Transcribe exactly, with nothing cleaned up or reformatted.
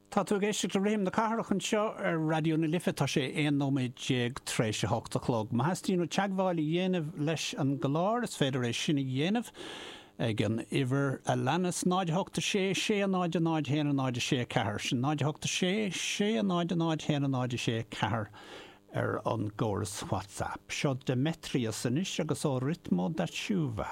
Tá tú ag éisteacht le Rithim na Cathrach anseo ar Raidió na Life tá sé aon nóiméad déag tar éis a hocht a chlog. Má theastaíonn uait teagmháil a dhéanamh leis an gclár is féidir é sin a dhéanamh ag an uimhir a leanas náid hocht sé sé náid náid haon náid sé ceathair sin náid hocht sé sé náid náid haon náid sé ceathair ar an gcóras WhatsApp. Seo Demetrius anois agus Ao Ritmo da Chuva.